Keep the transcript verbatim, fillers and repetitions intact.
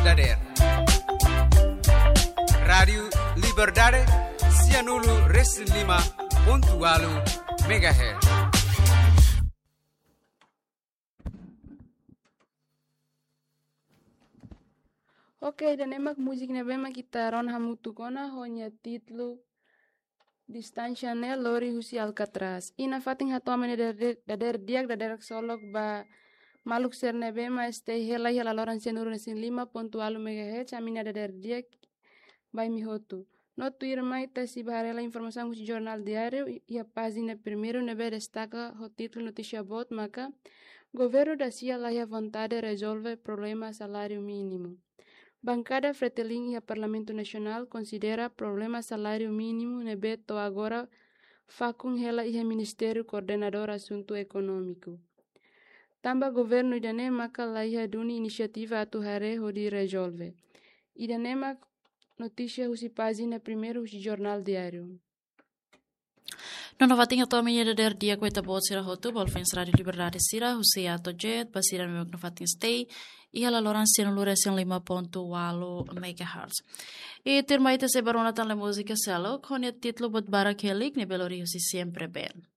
dadeer. Rádiu Liberdade, sianulu resin lima pontu walu megahertz. Oke, ida-ne'e mak múzika ne'ebé mak ita rona hamutuk ona ho nia títulu Distánsia ne'e lori husi Alcatraz. I nafatin hato'o ami-nia dadeer, dadeer di'ak, dadeer ksolok ba maluk sira ne'ebé mak stay hela iha laloran sianulu resin lima pontu walu megahertz, ami-nia dadeer di'ak ba imi hotu. No tuirmai ita sei bá haree hela informasaun husi Jornál Diáriu, iha pájina primeiru ne'ebé destaka ho títulu notísia boot maka: Governu dasia laiha vontade rezolve problema saláriu mínimu. Bankada Fretilin iha Parlamentu Nasionál konsidera problema saláriu mínimu ne'ebé to'o agora fakun hela iha Ministériu Koordenadór Asuntu Ekonómiku. Tanba governu ida-ne'e maka laiha duni inisiativa atu haree hodi rezolve. Ida-ne'e mak notísia husi pájina primeiru husi Jornál Diáriu. No nafatin hato'o ami-nia dadeer di'ak ba ita-boot sira hotu, ba fans Rádiu Liberdade sira, husi A to'o Z, ba sira ne'ebé mak nafatin stay iha laloran sianulu resin lima pontu walu megahertz. I tuirmai ita sei bá rona tan iha múzika seluk, ho nia títulu Buat Barak Helik, ne'ebé lori husi Siempre Band.